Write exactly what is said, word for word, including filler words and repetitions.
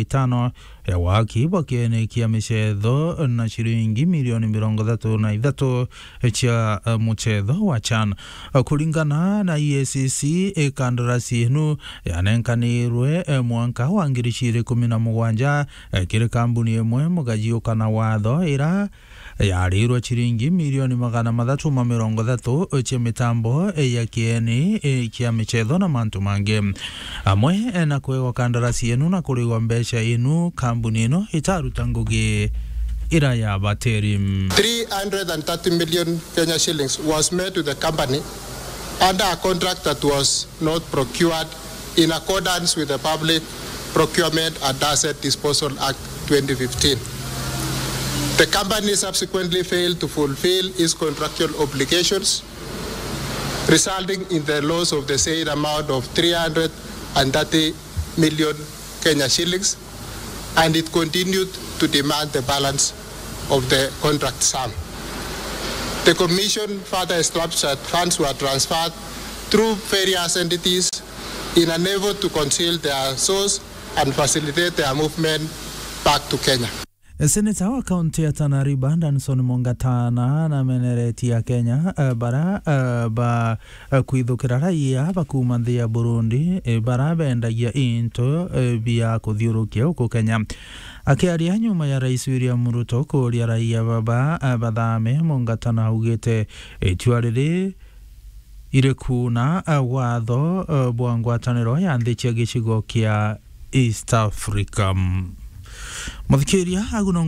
itano ya waki bwa kieni kia michetho na ciringi milioni mirongo ithatu na ithatu cia, eh, muchetho wa CHAN. Kuringana na E A C C, eh, kandarasi inu yanenkanirwe, eh, mwanka wa ngiri ciiri kumi na mugwanja, eh, kiri kambuni imwe mugajiuka na watho ira yarirwe ciringi milioni magana mathatu ma mirongo ithatu cia mitambo ya kieni kia michetho na mantu mangi, amwe na kwegwa kandarasi enu na kurigwa mbeca inu, kambuni ino itaruta ngugi ira ya bateri. Three hundred and thirty million Kenya shillings was made to the company under a contract that was not procured in accordance with the Public Procurement and Asset Disposal Act twenty fifteen. The company subsequently failed to fulfill its contractual obligations, resulting in the loss of the said amount of three hundred and thirty million Kenya shillings, and it continued to demand the balance of the contract sum. The Commission further instructs that funds were transferred through various entities in an effort to conceal their source and facilitate their movement back to Kenya. Seneta wa kaunti ya Tana River, Danson Mungatana, nameneretie Akenya, eh, bara, eh, ba, eh, kwithukira raia ba kuuma nthi ya Burundi, eh, bara bendagia into, eh, bia kuthiurukia guku Kenya. Akiaria nyuma ya Rais William Ruto kuuria raia baba, eh, bathame, Mungatana augite itua riri irikuna, eh, watho, eh, bwa ngwataniro ya nthi cia gicigo kia East Africa. Muthikiria, agu no